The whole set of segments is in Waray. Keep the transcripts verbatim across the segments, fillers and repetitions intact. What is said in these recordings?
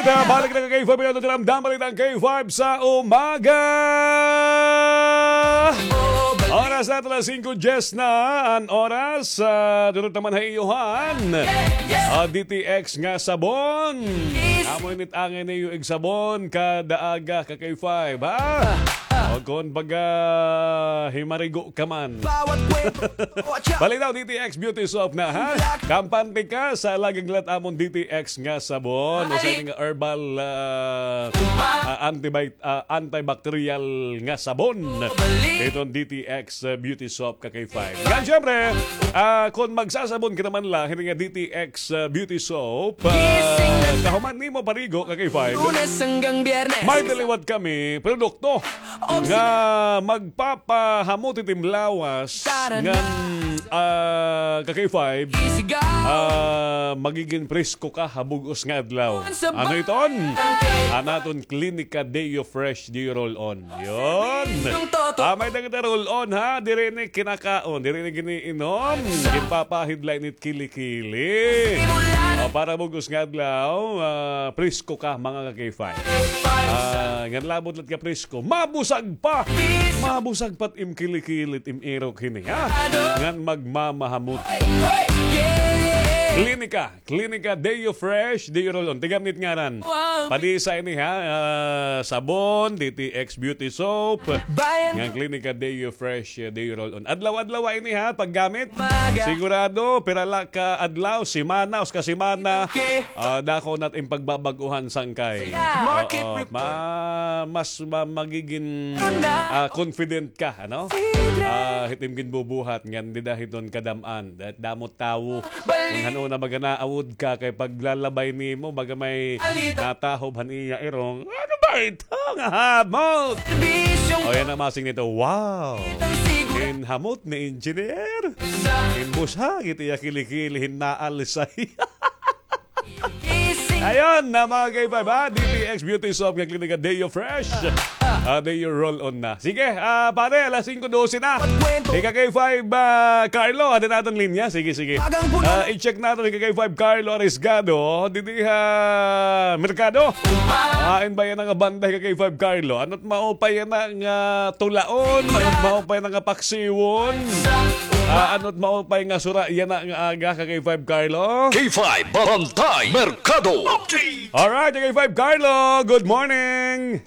Balik na ka K five, ito tinamdam, balik ang K five sa umaga. Oras naton alas singko diyes na an oras. Ah, durot naman ha iyo han. Ah, D T X nga sabon. Amo ini it angay niyo igsabon kada aga ka K five, ha? O kon baga himarigo ka man. Balik daw D T X Beauty Soap na, ha? Kampante ka sa laging lat amon D T X nga sabon. Usa ini nga herbal, ah, ah, antibi-, ah, antibacterial nga sabon. Iton D T X, ah, Beauty Soap ka K five. Ngan, syempre, ah, kon magsasabon ka naman la hini nga D T X, ah, Beauty Soap, ah, kahuman nimo parigo ka K five, may daliwat kami produkto nga magpapahamot it im lawas ngan, ah, ka K five, ah, magigin presko ka ha bug-os nga adlaw. Ano iton? An aton Clinica Deo Fresh Deo Roll On. Yun. Ah, may-ada kita roll-on, ha? Diri ini kinakaon, diri ini giniinom. Ginpapahid la ini it kili-kili. O, para bug-os nga adlaw, ah, presko ka, mga ka-K five. Ah, ngan labot la it ka presko, mabusag pa. Mabusag pa it im kili-kili, it im irok hini, ha? Ngan magmamahamot. Klinika. Klinika Deo Fresh, Deo Roll-On. Tigam nit ngaran. Padisa ini, ha, ah, sabon, D T X Beauty Soap. Ngan Klinika Deo Fresh, eh, Deo Roll-On. Adlaw-adlaw ini, ha, paggamit. Sigurado, pira la ka adlaw, semana, usa ka semana. Ah, dako na it im pagbabag-uhan sangkay. Oo, ma-, mas ma-, magigin, ah, confident ka, ano? Ah, hit im ginbubuhat, ngan dida hiton kadam-an. Damo tawo. Kon han-o na baga naawod ka kay paglalabay nimo, baga may natahob han iya irong. Ano ba ito nga hamot? O, yana masing nito. Wow! Ginhamot ni Engineer. Ginbusag it iya kili-kili, hinaalisay. Ayun na, mga K five, ha? D T X Beauty Soap nga Klinika Deo Fresh. Ah, Deo Roll-On na. Sige, ah, pare, alas singko dose na. Ika K five, ah, Carlo, ada naton linya. Sige, sige. Ah, i-check naton ika K five Carlo Arisgado. Didi ha merkado. Ah, in ba yana nga banda ika K five Carlo? Ano't maupay yana nga tulaon? Ano't maupay yana nga paksiwon? Ah, ano't maupay nga sura yana nga aga ka K five Carlo? K five Bantay Merkado. Alright, K five Carlo, good morning.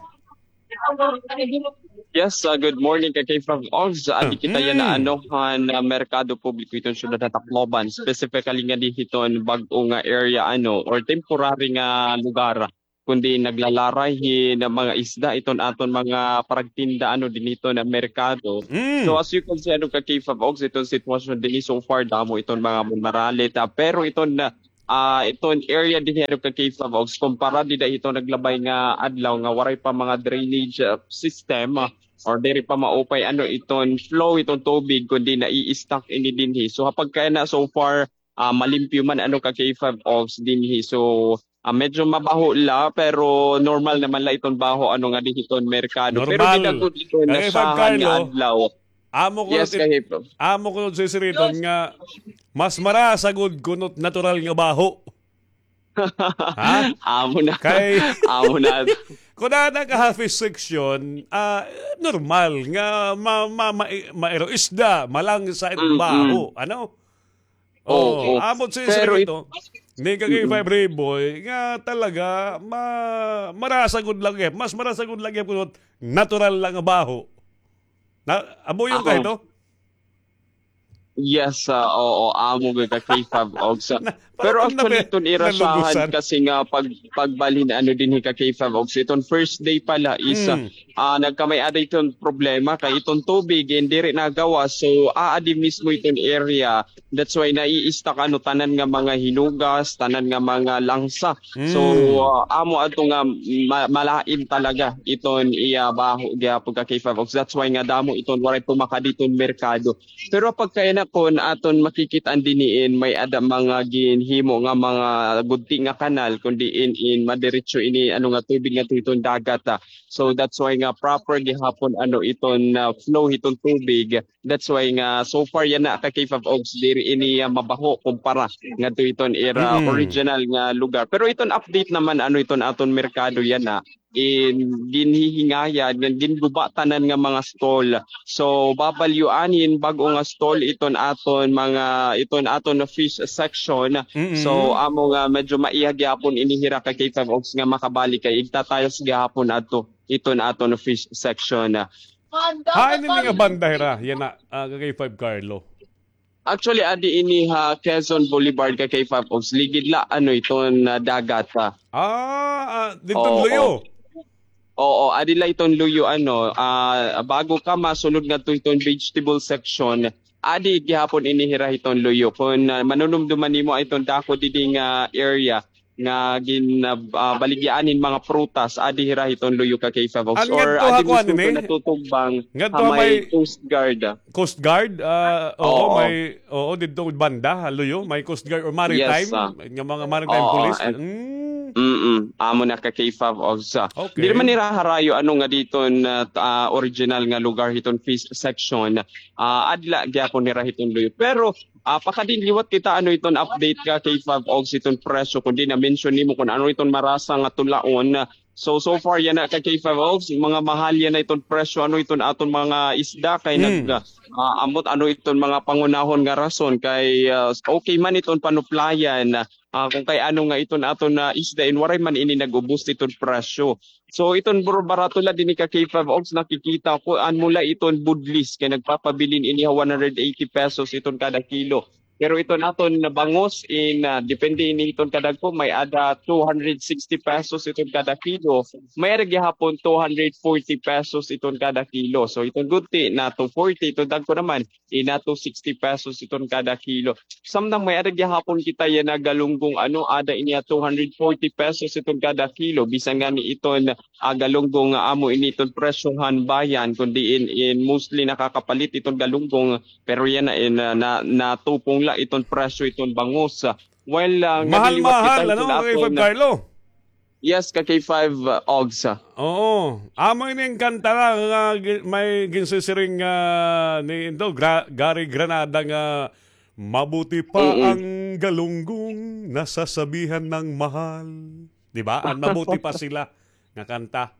Yes, ah, good morning ka K five Ogs. Adi kita yana, ano, han, ah, merkado publiko hiton syudad han Tacloban, specifically ngadi hiton bag-o nga area, ano, or temporary nga lugar, kundi naglalaray hin mga isda iton aton mga paragtinda, ano, dinhi hiton merkado. So, as you can see, ano, ka K five Ogs, iton sitwasyon dinhi so far, damo iton mga manmaralit, ah, pero iton, ah, ah, iton area dinhi, ano, ka K five Ogs, kumpara dida hiton naglabay nga adlaw nga waray pa mga drainage, ah, system, ah, or diri pa maupay, ano, iton flow iton tubig, kundi nai-stuck ini dinhi. So, ha pagkayana so far, ah, malimpyo man, ano, ka K five Ogs dinhi. So, ah, medyo mabaho la, pero normal naman la iton baho, ano, nga dinhi hiton merkado. Pero dida gud iton nasahan nga adlaw. Amo ko, yes, it-, ka K five Ogs. Amo ko, Sir Riton, nga mas marasa gud kuno it natural nga baho. Ha? Amo na. Kay, amo na. Kon ada ka ha fish section, ah, normal nga ma-, ma-, ma-, mairo isda, malangsa it baho, ano? Oo, oo. Amo si Sir Riton, ni ka K five Riboy, nga talaga, ma-, marasa gud la gihap, mas marasa gud la gihap kuno it natural la nga baho. Na, amo iton ka ito? Yes, ah, oo, amo gud ka K five Ogs. Pero actually, iton ira sahan kasi nga pag-, pagbalhin, ano, dinhi ka K five Ogs, iton first day pa la is, ah, nagkamay-ada iton problema kay iton tubig, eh, diri nagawas. So, aadi mismo iton area. That's why nai-stuck, ano, tanan nga mga hinugas, tanan nga mga langsa. So, ah, amo adto nga ma-, malain talaga iton iya baho gihapon ka K five Ogs. That's why nga damo iton waray tumakad iton merkado. Pero pagkayana kon aton makikit-an dinhi in may-ada mga ginhimo nga mga gudti nga kanal, kon diin in madiretso ini, ano, nga tubig ngadto hiton dagat, ah. So that's why nga proper gihapon ano iton, ah, flow hiton tubig. That's why nga so far yana ka K five Ogs diri ini, ah, mabaho kumpara ngadto iton ira original nga lugar. Pero iton update naman ano iton aton merkado yana, in ginhihingayad, ngan ginguba tanan nga mga stall. So, babalyoan hin bag-o nga stall iton aton mga, iton aton fish section. So, amo nga medyo maiha gihapon ini hira ka K five Ogs nga makabalik kay igtatayos gihapon adto iton aton fish section. Hain ini nga banda hira, yana, ah, ka K five Carlo? Actually, adi ini ha Quezon Boulevard ka K five Ogs. Ligid la, ano, iton, ah, dagat, ha. Ah, ah, didto luyo? Oo, adi la iton luyo, ano, ah, bago ka masulod ngadto iton vegetable section, adi gihapon ini hira hiton luyo. Kon, ah, manunumduman nimo iton dako didi nga area, nga gin, ah, ah, baligyahan hin mga prutas, adi hira hiton luyo ka K five Ogs. Or adi mismo ko natutugbang ha may Coast Guard. Coast Guard? Ah, oo, may, oo, didto banda, ha, luyo, may Coast Guard or maritime, nga mga maritime police. Mm. Mm-mm. Amo na ka K five Ogs. Diri man nira harayo ano nga didto na, ah, original nga lugar hiton fish section. Ah, adi la gihapon nira hiton luyo. Pero Ah, pakadin liwat kita ano iton update ka K five Ogs iton presyo, kundi na-mention nimo kun ano iton marasa nga tulaon. So, so far yana ka K five Ogs, mga mahal yana iton presyo ano iton aton mga isda kay nag, ah, ambot ano iton mga pangunahon nga rason kay, ah, okay man iton panuplayan, ah, kung kay ano nga iton aton na isda in waray man ini nag-ubos iton presyo. So, iton buro-, barato la dinhi ka K five Ogs, nakikita ko, amo la iton budlis, kay nagpapabilin ini ha one hundred eighty pesos iton kada kilo. Pero iton aton na bangus in, ah, depende ini iton kadagko, may-ada two hundred sixty pesos iton kada kilo. May-ada gihapon two hundred forty pesos iton kada kilo. So, iton gunti na two forty, iton dagko naman, ina two sixty pesos iton kada kilo. Samtang may-ada gihapon kita yana galunggong ano, ada ini ha two hundred forty pesos iton kada kilo. Bisan ngani iton, ah, galunggong nga amo ini iton presyo han bayan, kun diin in mostly nakakapalit iton galunggong, pero yana in, ah, na, natupong la iton presyo iton bangus. Well, ah, mahal-mahal, ano, K five Carlo? Yes, ka K five, uh, Ogs, ah. Oo. Amo ini an kanta la nga gi-, may ginsisiring, ah, ni, ito, Gra-, Gary Granada nga, "Mabuti pa ang galunggong nasasabihan ng mahal." Di ba? Ang mabuti pa sila nga kanta.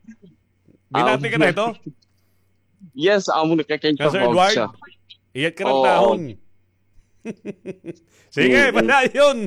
Binati ka na ito? Yes, amo na ka K five Ogs, ah. Iyat ka ng tahon. Sige, padayon.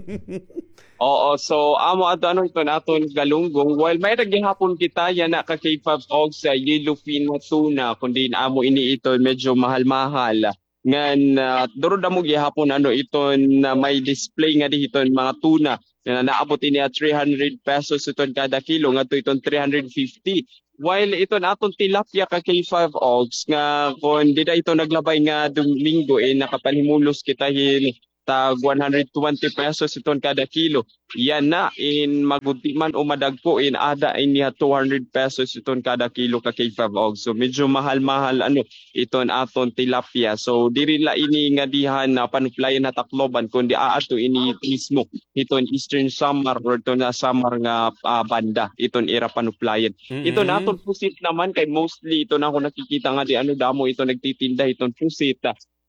Oo, so, amo adto, ano, iton aton galunggong. While may-ada gihapon kita yana ka K five Ogs yellowfin nga tuna, kundi amo ini iton medyo mahal-mahal. Ngan, ah, duro damo gihapon, ano, iton, ah, may display ngadi hiton mga tuna. Nga naabot ini ha three hundred pesos iton kada kilo, ngadto iton three hundred fifty. While iton aton tilapia ka K five Ogs nga kon dida ito naglabay nga Domingo, eh, nakapanhimulos kita hin tag one hundred twenty pesos iton kada kilo. Yana in magudti man o madagko in ada ini ha two hundred pesos iton kada kilo ka K five Ogs. So medyo mahal-mahal, ano, iton aton tilapia. So diri la ini ngadi han, ah, panuplayan ha Tacloban, kundi aadto ini mismo hiton Eastern Samar or iton, ah, Samar nga, ah, banda, iton ira panuplayan. Iton aton pusit naman kay mostly iton ako nakikita ngadi, ano, damo iton nagtitinda hiton pusit.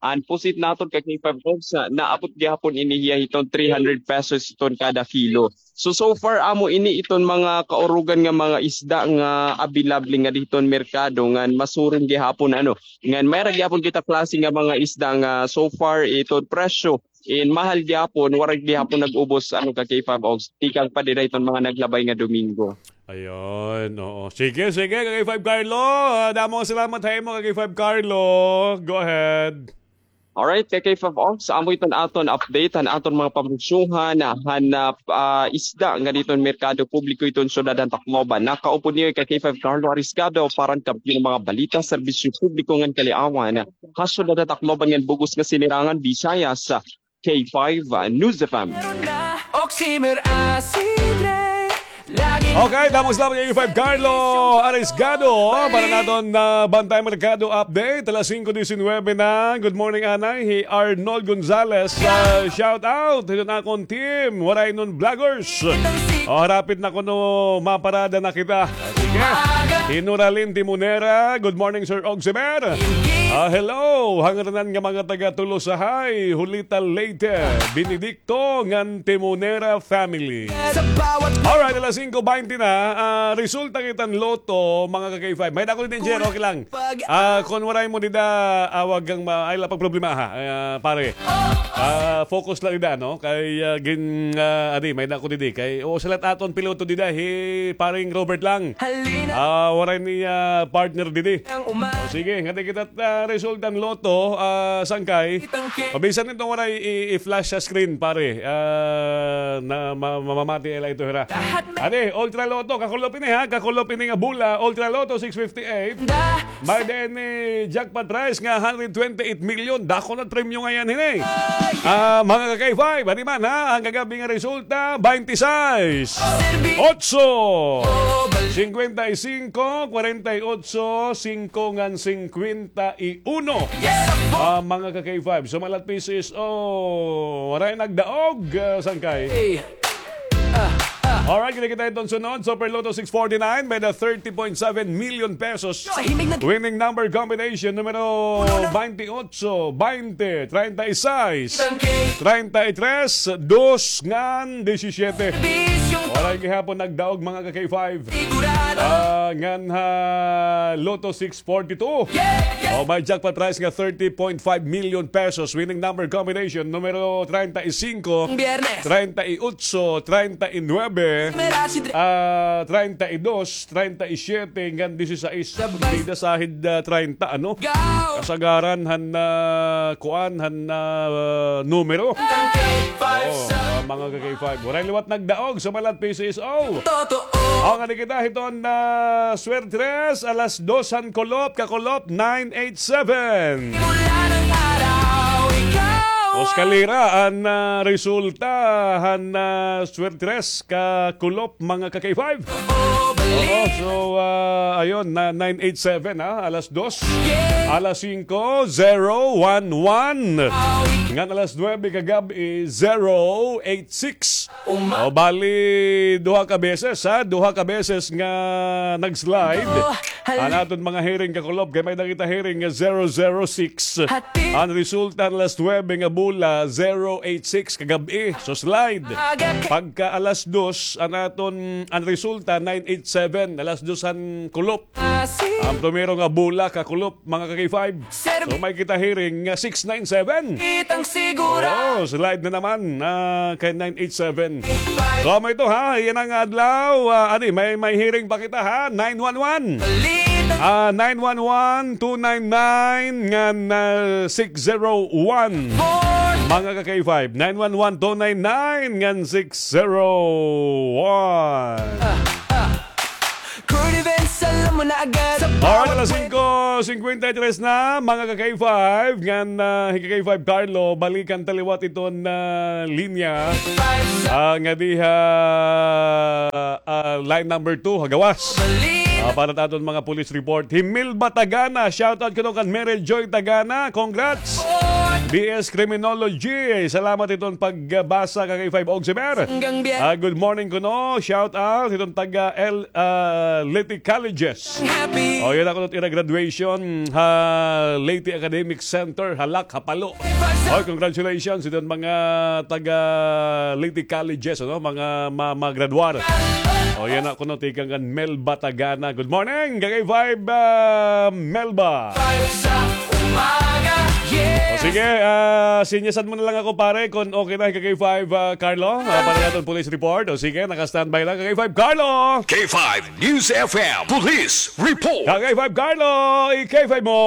An pusit naton ka K five Ogs, ah, naabot gihapon ini hiya hiton three hundred pesos iton kada kilo. So, so far, amo ini iton mga kaurugan nga mga isda nga available ngadi hiton merkado ngan masuron gihapon, ano, ngan may-ada gihapon kita klase nga mga isda nga so far iton presyo in mahal gihapon, waray gihapon nag-ubos, ano, ka K five Ogs, tikang pa dida iton mga naglabay nga Domingo. Ayun, oo. Sige, sige, ka K five Carlo. Ah, damo nga salamat ha imo, ka K five Carlo. Go ahead. Alright, ka K five Ogs, amo iton aton update han aton mga pamugsuhan han, ah, isda ngadi hiton merkado publiko hiton syudad han Tacloban. Nakaupod niyo ka K five Carlo Arisgado para han kaabyo nga mga balita, serbisyo publiko ngan kaliawan ha syudad han Tacloban ngan bug-os nga sinirangan Visayas. K five News F M. Okay, damo nga salamat kay K five Carlo Arisgado para han aton, ah, Bantay Merkado Update. Alas singko disinwebe na. Good morning, anay. Hi Arnold Gonzalez. Ah, shout out hiton akon team, Waraynon Vloggers. O, harapit na kuno maparada na kita. Sige. Hi Noralyn Timonera, good morning, Sir Oximer. Ah, hello, han ngaranan nga mga taga Tolosahay, Julita, Leyte, Benedicto, ngan Timonera family. Alright, alas singko baynte na, ah, resulta kita han Lotto, mga ka-K five. May-ada ko didi, Jer, okay lang. Ah, kon waray mo dida, ah, wag kang ma-, ay, la pagproblema, ha, ah, pare. Ah, focus lang dida, no? Kay, ah, gin-, ah, adi, may-ada ko didi. Kay, o, sa lahat aton piloto dida, hi Paring Robert lang. Ah, waray ni, ah, partner didi. O, sige, ngadi kita, ah, resulta han Lotto, ah, sangkay. Pabisan ito waray i-, i-flash sa screen, pare. Ah, na ma-, mamamati ila ito, hira. Adi, Ultra Lotto, kakulop ini, ha? Kakulop ini nga bola, Ultra Lotto six fifty-eight. May-ada ini jackpot prize nga hundred twenty-eight million. Dako na premyo ngay-an hini. Ah, mga ka-K five, adi man, ha? An kagab-i nga resulta, baynte sais, otso, singkwenta y singko, kwarenta y otso, singko ngan singkwenta y uno. Ah, mga ka-K five, sumalat P C S O, waray nagdaog, ah, sangkay. Alright, kita-kita iton sunod. Super Lotto six forty-nine, may-ada thirty point seven million pesos. Winning number combination, numero baynte otso, baynte, treinta y seis, treinta y tres, dos, ngan disisyete. Waray gihapon nagdaog, mga ka-K five. Ah, ngan ha Lotto six forty-two. O, may jackpot prize nga thirty point five million pesos. Winning number combination, numero treinta y cinco, treinta y ocho, treinta y nueve, ah, treinta y dos, treinta y siete, ngan dieciséis. Dida sahid, ah, treinta, ano? Kasagaran han, ah, kuan, han, ah, numero. O, ah, mga ka-K five. Waray liwat nagdaog, sumalat P C S O. Totoo. Aw, ngadi kita hiton, ah, Swertres, alas dos han kulop, kakulop, nine eight seven. Mula ng araw, ikaw. Oskalira, an, ah, resulta han, ah, Swertres, kakulop, mga ka-K five. Oo, so, ah, ayun, na nine eight seven, ha, alas dos. Alas singko, zero one one. Ngan alas nuebe kagab-i, zero eight six. O, bali, duha ka beses, ha? Duha ka beses nga nag-slide. An aton mga hearing, kakulop, kay may-ada kita hearing nga zero zero six. An resulta han alas nuebe nga bola, zero eight six kagab-i. So, slide. Pagka alas dos, an aton, an resulta, nine eight seven, alas dos han kulop. An primero nga bola, kakulop, mga ka-K five. So, may kita hearing nga six nine seven. Kitang sigura. Oo, slide na naman, ah, kay nine eight seven. So, amo ito, ha, yana nga adlaw, ah, adi, may, may hearing pa kita, ha, nine one one. Ah, nine one one, two nine nine, ngan, ah, six zero one. Mga ka-K five, nine one one, two nine nine, ngan six zero one. Alright, alas singko singkwenta y tres na, mga ka-K five, ngan, ah, hi ka-K five Carlo, balikan ta liwat iton, ah, linya. Ah, ngadi ha, ah, line number two, ha gawas. Ah, para ta aton mga police report. Hi Melba Tagana, shoutout kuno kan Mary Joy Tagana, congrats. B S Criminology, salamat iton pagbasa, ka-K five Oximer. Ah, good morning kuno, shoutout iton taga L, ah, Leyte Colleges. O, yana kuno it ira graduation ha Leyte Academic Center, ha Lac, ha Palo. Oy, congratulations iton mga taga Leyte Colleges, ano, mga ma-, magradwar. O, yana kuno tikang kan Melba Tagana. Good morning, ka-K five, ah, Melba. Five sa umaga, yes. O, sige, ah, sinyasan mo na lang ako, pare, kon okay na, ka-K five, ah, Carlo, ah, para naton police report. O, sige, naka-standby lang, ka-K five Carlo. K five News F M Police Report. Ka-K five Carlo, i-K five mo.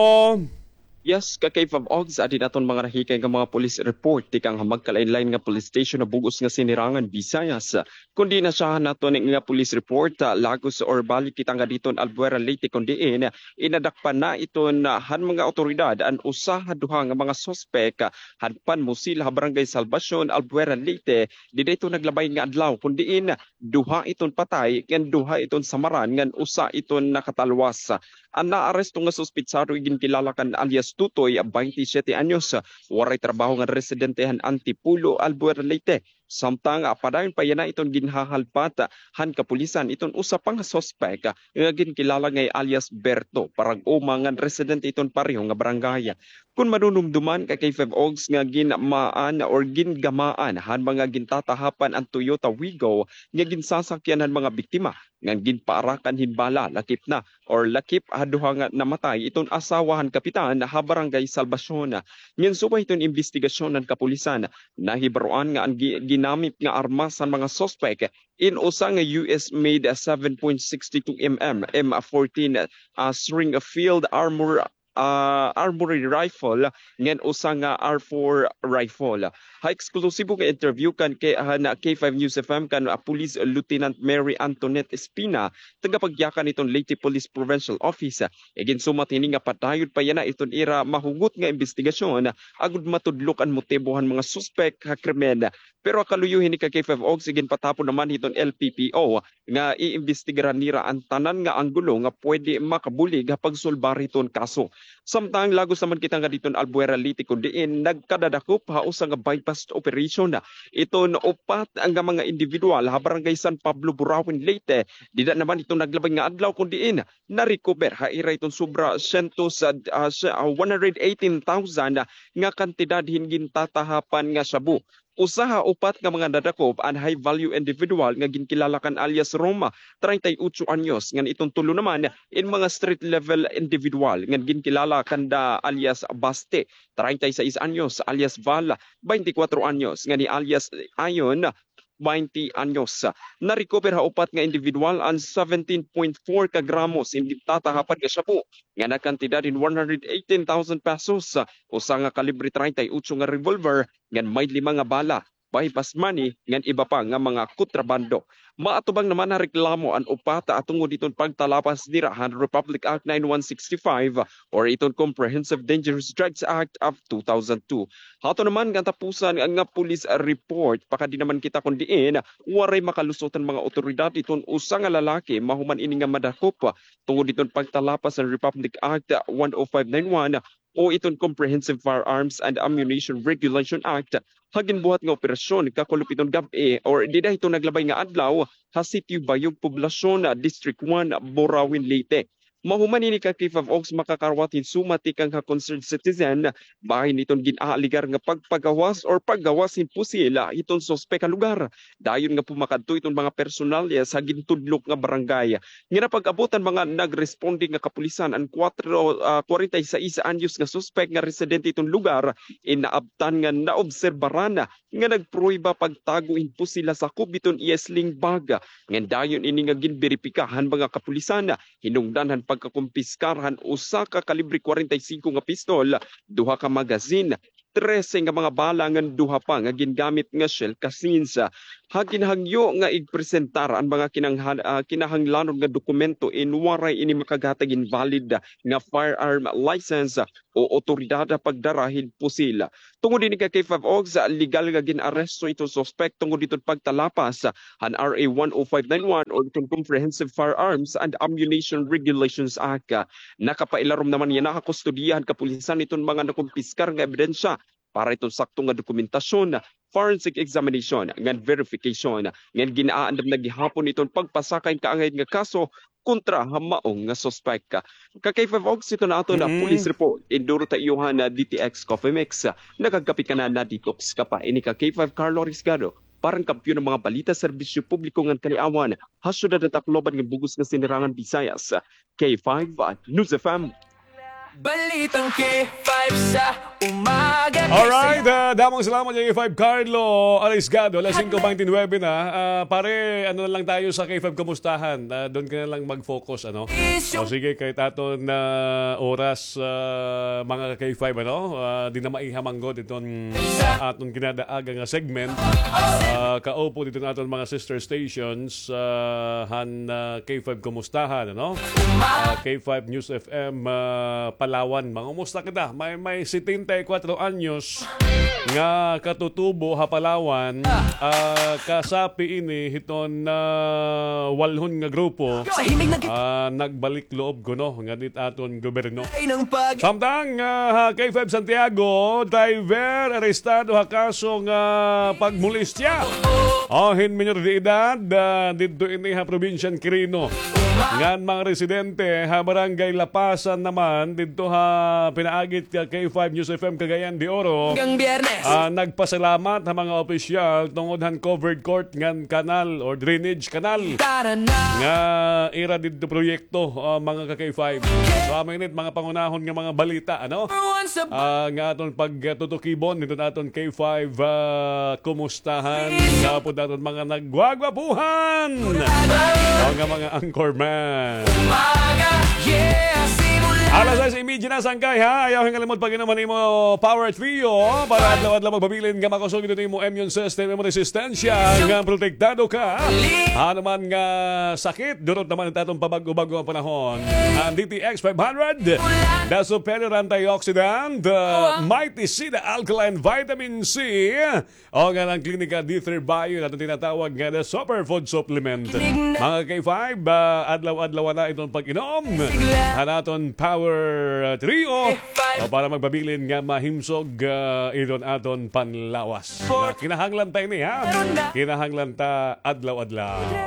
Yes, ka-K five Ogs, adi naton mga nahikay nga mga police report tikang ha magkalain-lain nga police station ha bug-os nga Sinirangan, Visayas. Kon diin nasyahan naton nga police report, ah, lagos or balik kita ngadi hiton Albuera, Leyte, kon diin inadakpan na iton, ah, han mga awtoridad an usa ha duha nga mga suspek, ah, han panmusil ha Barangay Salvacion, Albuera, Leyte, dida hiton naglabay nga adlaw, kon diin duha iton patay ngan duha iton samaran ngan usa iton nakatalwas. An naaresto nga suspetsado iginkilala kan alias Tutoy, baynte siyete anyos, waray trabaho ngan residente han Antipolo, Albuera, Leyte. Samtang, ah, padayon pa yana iton ginhahalpat, ah, han kapulisan iton usa pa nga suspek, ah, nga ginkilala nga hi alias Berto, parag-uma ngan residente iton pareho nga barangay. Kon madumduman ka K five Ogs nga ginmaan or gingamaan han mga gintatahapan an Toyota Wigo nga ginsasakyan han mga biktima, ngan ginpaarakan hin bala, lakip na or lakip ha duha nga namatay iton asawa han kapitan ha Barangay Salvacion. Ngan subay hiton imbestigasyon han kapulisan, nahibaroan nga an gi-, ginamit nga armas han mga suspek in usa nga U S made seven point six two M M M fourteen, ah, Springfield Armor ah, armory rifle, ngan usa nga R four rifle. Ha eksklusibo nga interview kan K-, han K five News F M kan, ah, Police Lieutenant Mary Antoinette Espina, tagapagyakan hiton Leyte Police Provincial Office, iginsumat hini nga padayon pa yana iton ira mahugot nga imbestigasyon agod matudlok an motibo han mga suspek ha krimen. Pero ha kaluyo hini ka K five Ogs, iginpatapon naman hiton L P P O nga iimbestigaran nira an tanan nga anggulo nga pwede makabulig ha pagsulbar hiton kaso. Samtang lagos naman kita ngadi hiton Albuera, Leyte, kon diin nagkadadakop ha usa nga buy-bust operation iton upat nga mga individual ha Barangay San Pablo, Burauen, Leyte. Dida naman hiton naglabay nga adlaw kon diin na-recover ha ira hiton sobra syentos, ah, ah, one hundred eighteen thousand nga kantidad hin gintatahapan nga shabu. Usa ha upat nga mga nadakop an high value individual nga ginkilala kan alias Roma, treinta y ocho anyos, ngan iton tulo naman in mga street level individual nga ginkilala kanda alias Baste, treinta y seis anyos, alias Val, baynte kwatro anyos, ngan hi alias Ayon, baynte anyos. Na-recover ha upat nga individual an seventeen point four ka gramos hin gintatahapan nga shabu nga nagkantidad hin one hundred eighteen thousand pesos, usa nga kalibre treinta y ocho nga revolver, ngan may lima nga bala, buy-bust money, ngan iba pa nga mga kontrabando. Maatubang naman ha reklamo an upat, ah, tungod hiton pagtalapas nira han Republic Act nine one six five or iton Comprehensive Dangerous Drugs Act of two thousand two. Hato naman nga tapusan nga police report, pakadi naman kita kon diin waray makalusot an mga awtoridad hiton usa nga lalaki mahuman ini nga madakop tungod hiton pagtalapas han Republic Act one oh five nine one o iton Comprehensive Firearms and Ammunition Regulation Act ha ginbuhat nga operasyon kakulop hiton gab-i or dida hiton naglabay nga adlaw ha Sitio Bayog, Poblacion, District one, Burauen, Leyte. Mahuman ini ka K five Ogs, makakarawat hin sumati kang ha concerned citizen bahin hiton gin-aalegar nga pagpagawas or paggawas hin pusil hiton suspek ha lugar. Dayon nga pumakadto iton mga personalyas ha gintudlok nga barangay. Nga napag-abot an mga nagresponde nga kapulisan, an kwatro, ah, kwarenta y seis anyos nga suspek nga residente iton lugar, in naabtan nga naobserbaran nga nagprueba pagtago hin pusil ha sakop hiton iya sling bag. Ngan dayon ini nga ginberipika han mga kapulisan, hinungdan han pagkakumpiskar han usa ka kalibre kwarenta y singko nga pistol, duha ka magazine, trese nga mga bala ngan duha pa nga gingamit nga shell casings. Ha ginhangyo nga igpresentar an mga kinanghan-, ah, kinahanglanon nga dokumento in waray ini makaghatag hin valid nga firearm license o awtoridad ha pagdara hin pusil. Tungod hini ka K five Ogs, legal nga gin-aresto iton suspek tungod hiton pagtalapas han R A one oh five nine one o iton Comprehensive Firearms and Ammunition Regulations Act. Nakapailarom naman yana ha kustodiya han kapulisan iton mga nakumpiskar nga ebidensya para iton sakto nga dokumentasyon, forensic examination, ngan verification, ngan gin-aandam na gihapon iton pagpasaka hin kaangay nga kaso kontra ha maong nga suspek. Ka K five Ogs, ito na aton nga police report. Induro ta iyo han D T X Coffee Mix. Nakagkapit ka na, na-detox ka pa. Ini ka K five Carlo Risgado, para han kampiyon han mga balita, serbisyo publiko ngan kaliawan ha syudad han Tacloban ngan bug-os nga Sinirangan Visayas. K five News F M. Balitang K five sa umaga. Alright, ah, damo nga salamat, K five Carlo Arisgado. Alas singko baynte nuwebe na. Ah, pare, ano na lang tayo sa K five Kumustahan? Ah, doon ka na lang mag-focus, ano? O sige, kay aton na oras, ah, mga K five, ano? Ah, di na maiha man gud iton aton kinadaaga nga segment. Ah, kaupo diton aton mga sister stations, ah, han, ah, K five Kumustahan, ano? Ah, K five News F M, ah, Palawan. Mangumusta kita? May, may setenta treinta y cuatro anyos nga katutubo ha Palawan, ah, kasapi ini hiton, ah, walhon nga grupo, ah, nagbalik loob kuno ngan it aton gobyerno. Samtang, ah, ha K five Santiago, driver arestado ha kaso nga pagmolestya hin minor de edad, ah, didto ini ha probinsya han Quirino. Ngan mga residente ha Barangay Lapasan naman, didto ha pinaagi ka K five News F M Cagayan de Oro, ah, nagpasalamat ha mga opisyal tungod han covered court ngan kanal or drainage canal nga ira didto proyekto, ah, mga ka K five. So, amo ini it mga pangunahon nga mga balita, ano? Ah, nga aton pagtutukibon hiton aton K five, ah, kumustahan nga pod aton mga nagwagwapuhan. O nga mga anchorman. Alas sais y media na, sangkay, ha? Ayaw hingalimot pag-inom han imo Power Trio para adlaw-adlaw magpabilin nga makusog iton imo immune system, imo resistensya, nga protektado ka. Ano man nga sakit, durot naman it aton pabag-o-bag-o nga panahon. An D T X five hundred, the superior antioxidant, the Mighty C, the alkaline vitamin C, o nga an Klinika D three Bio, aton tinatawag nga the superfood supplement. Mga K five, ah, adlaw-adlaw na iton pag-inom han aton Power, ah, Trio, o para magpabilin nga mahimsog, ah, iton aton panlawas. Kinahanglan ta ini, ha? Kinahanglan ta adlaw-adlaw.